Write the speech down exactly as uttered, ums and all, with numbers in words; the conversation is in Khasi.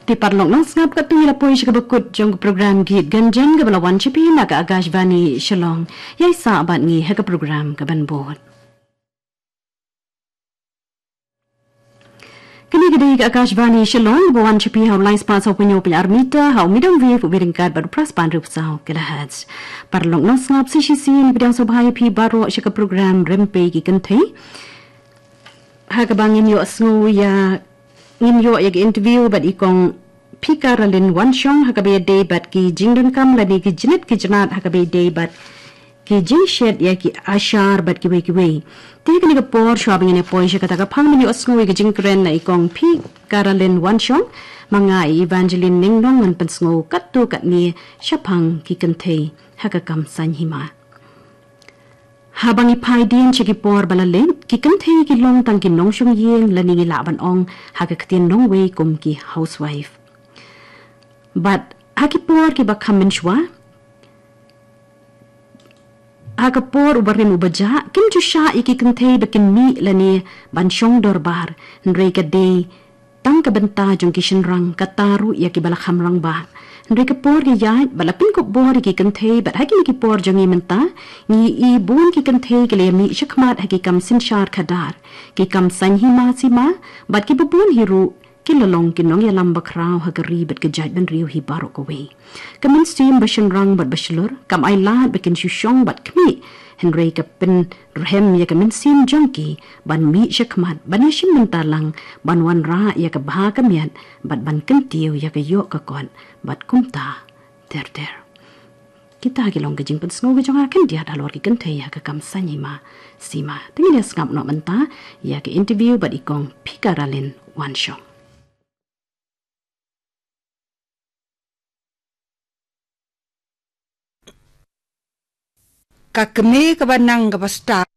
Te paralok nongsngap, katto ngi la poi sha kaba kut jong ka program Geet Ganjan kaba la wan sha phi na ka Akashvani Shillong. Ïai sah bad ngi ha ka program kaban bud. Kane ka dei ka Akashvani Shillong, ba wan sha phi ha u lai spah saw phew hynñiew point ar meter ha u medium wave uba ryngkat bad u phra spah hynriew phew saw kilohertz. Paralok nongsngap, sa shisien ngi pdiang sngewbha ïa phi baroh sha ka program Rympei ki Kynthei, ha kaba ngin ïohsngew ïa, ngin ïoh ïa ka interview bad i Kong Phi Carolyn Wanshong ha kaba ïadei bad ki jingdonkam lane ki jingit ki jingat ha kaba ïadei bad ki jingshet ïa ki ashar bad kiwei kiwei. Te ha kane ka por, shuwa ba ngin ïa poi sha kata ka phang ban ïohsngew ïa ka jingkren na i Kong Phi Carolyn Wanshong, ma nga i Evangeline Ningnong ngan pynsngew katto katne shaphang ki kynthei ha ka kam saiñ hima. Haba ngi phai dien sha ki por ba la leit, ki kynthei ki long tang ki nongshong ïing, lane ngi lah ban ong ha ka ktien nongwei kum ki housewife. Bad ha ki por kiba kham mynshuwa, ha ka por uba rim uba jah, kim ju shah ïa ki kynthei ba kin mih lane ban shong dorbar, hynrei ka dei tang ka bynta jong ki shynrang, kata ruh ïa kiba la kham rangbah. Hynrei ka por ka ïaid bad la pynkup bor ïa ki kynthei, bad ha kine ki por jong ngi mynta, ngi i bun ki kynthei ki la ïa mih shakhmat ha ki kam synshar khadar, ki kam saiñ hima sima, bad kiba bun hi ruh ki la long ki nongïalam bakhraw ha ka ri bad ka jaitbynriew hi baroh kawei. Ka mynsiem ba shynrang bad ba shlur kam ailad ba kin shu shong bad khmih, hynrei ka pynrhem ïa ka mynsiem jong ki ban mih shakhmat, ban ïashim bynta lang, ban wanrah ïa ka bha ka miat bad ban kyntiew ïa ka ïoh ka kot bad kumta ter ter. Kita ki long ka jingpynsngew ka jong nga khyndiat halor ki kynthei ha ka kam saiñ hima sima. Te ngin ïa sngap noh mynta ïa ka interview bad i Kong Phi Carolyn Wanshong. Ka kmie kaba nang kaba stad